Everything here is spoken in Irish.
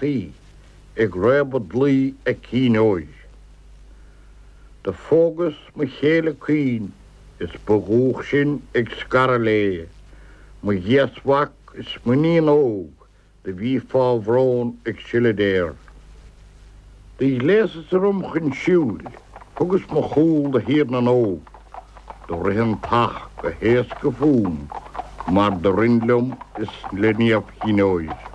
gcártaí ag réabadh dlaoi a cinn óir. Do phógas mo chéile caoin is ba dhúch sinn ag scaradh léi, mo ghéasmhac is m'iníon óg do bhí fá bhrón ag sileadh deor. Do ghléasas orm chun siúil, thugas mo chúl do Thír na nÓg, do rith an t-each go héasca fúm mar do rinn liom is le Niamh Chinn Óir.